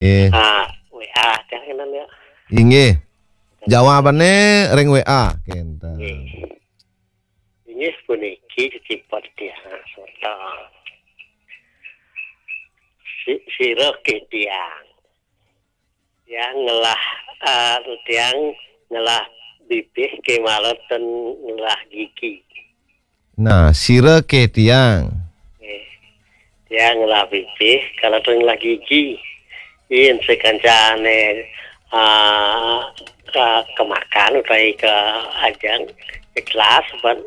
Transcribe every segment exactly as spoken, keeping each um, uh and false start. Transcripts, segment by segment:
Eh. Ah, W A, jangan ya. Inggih. Jawabannya ring W A. Kenten. Inggih. Inggih puniki ceciput tiang semeton. Si, sira ke tiang. Tiang ngelah, eh, tiang ngelah bibih ke mara ten ngelah gigi. Nah, sira ke tiang. Nggih. Tiang ngelah bibih, kala ten ngelah gigi. Yen sekancane, ah, ka-, kemakan utawi ka ajeng ikhlas, ban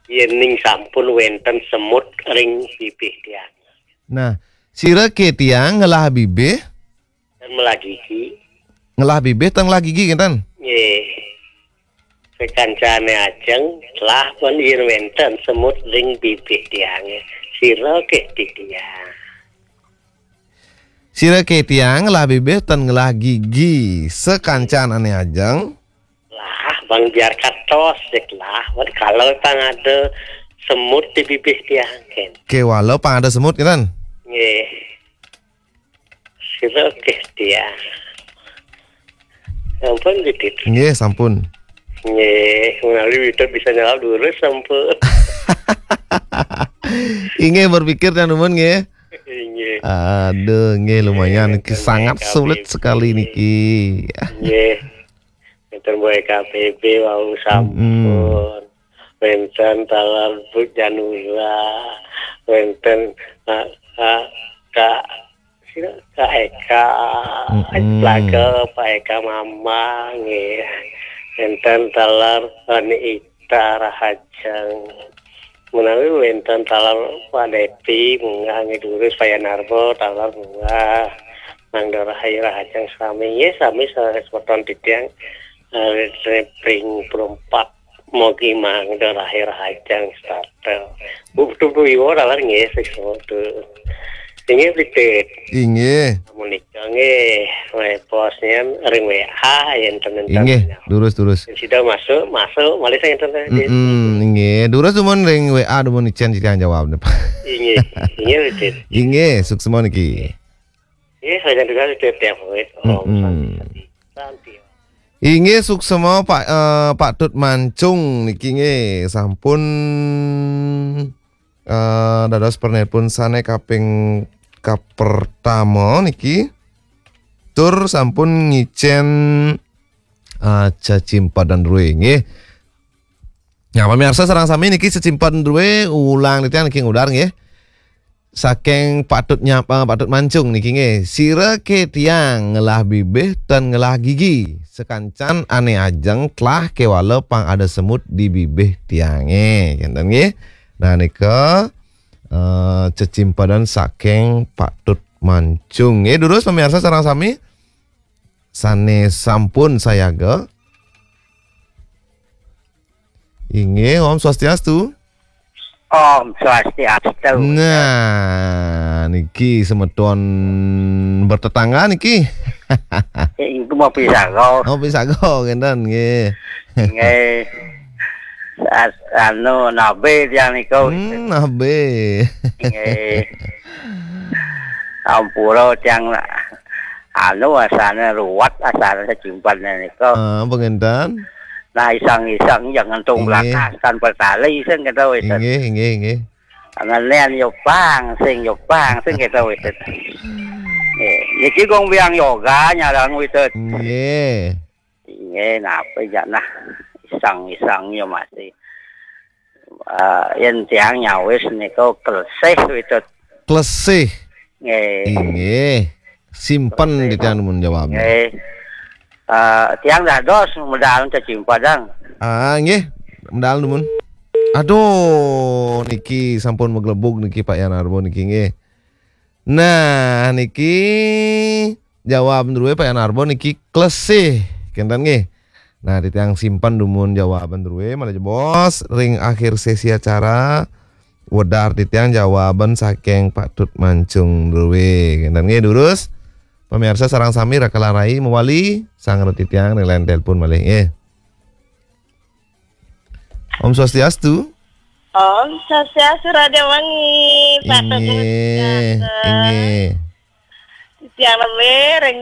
yen ning sampun wenten semut ring bibih tiang. Nah, sira ke tiang ngelah bibih? Dan ngelah gigi. Ngelah bibih ten ngelah gigi, kenten? Nggih. Sekancane ajeng, lah pun yen wenten semut ring bibih tiange. Sira ke tiang. Sira ke tiang ngelah bibih ten ngelah gigi. Sekancane ajeng. Lah, bang biar katos, sik lah. Wan kalau pang ada semut di bibih tiang, ken. Kewala pang ada semut, kenten? Nggih. Sira ke tiang. Sampun, Didit? Nggih, sampun. Nggih, menawi Widot bisa nyalap durus, sampun. Inggih, berpikir dan dumun, nggih. Inggih. Aduh, nggih, lumayan. Nggih, niki sangat sulit sekali niki. Nggih. Wenten Boy K B B wau sampun. Mm-mm. Wenten taler Bu Janura, wenten, ah, ah, Kak, sira, Kak Eka, mm-mm, Plaga, Pak Eka Mama, nggih. Wenten taler Ani Ita Rahajeng. Menawi wenten taler Pak Depi, munggah nggih durus, Pak Yanarbo, taler munggah. Mangda rahayu rahajeng sami. Nggih, sami sareng semeton titiang, eh, pring perempat. Mogi mangda rahayu rahajeng starter. Bu, betul, Bu Iwo, taler nggih, sik semeton. Inggih, Pitit. Inggih. Menika nggih, posnya ring W A yen temen. Inggih, durus, durus. Sida masuk, masuk, malih saya enten. Mm-mm, inggih. Durus dumun ring W A dumun icen titiang jawab, Pak. Inggih, inggih, Pitit. Inggih, suksma niki. Nggih, saya juga tiap, tiap menit. Om, mm-mm, Santi, Santi, Santi. Inggih, suksma Pak, eh, Pak Tut Mancung niki nggih sampun, eh, dados penelpon sane kaping kapertama niki. Tur sampun ngicen, eh, cecimpedan druwe nggih. Nah, pamirsa sareng sami niki cecimpedan druwe ulang titiang niki ngudar nggih. Saking Pak Tut Nyap-, eh, Pak Tut Mancung niki nggih. Sira ke tiang ngelah bibih ten ngelah gigi. Sekancan ane ajeng telah kewala pang ada semut di bibih tiange. Kenten nggih. Nah, nika, eh, cecimpedan saking Pak Tut Mancung. Nggih, durus pamirsa sareng sami sane sampun sayaga. Inggih, Om Swastiastu. Om Swastiastu. Nah, niki semeton bertetangga niki. Iku mau pisaga. Oh, pisaga, kenten nggih. Nggih. As-, anu, nabe tiang niku. Hmm, nabe. Nggih. Ampura tiang, anu, asane ruwet, asane cecimpedan niku. Ah, pengenten. Nah, iseng-iseng ya ngentung, nggih, blakas tanpa tali sing kita wis. Nggih, nggih, nggih. Ngenen yo pang, sing yo pang, sing kita wis. Nggih, niki kong biang yoga nyarang wis. Nggih. Nggih, napa ya nah, iseng-iseng ya masih. Eh, yen tiang nyawis niku Klesih, Widot. Klesih. Nggih. Inggih. Simpen. Klesih. Titiang mun jawab. Nggih. Eh, tiang dados medal cecimpedan. Ah, nggih. Medal dumun. Aduh, niki sampun maglebug niki Pak Yanarbo niki nggih. Nah, niki jawab druwe Pak Yanarbo niki Klesih. Kenten nggih. Nah, titiang simpen dumun jawaban druwe, malih jebos ring akhir sesi acara wedar titiang jawaban saking Pak Tut Mancung druwe. Kenten nggih, durus. Pamirsa sareng sami raka larai mawali, sang titiang ring line telepon malih nggih. Om Swastiastu. Om Swastiastu, Raja Wangi, Pak Teguh. Inggih, Swastiastu. Inggih. Tiang Lame ring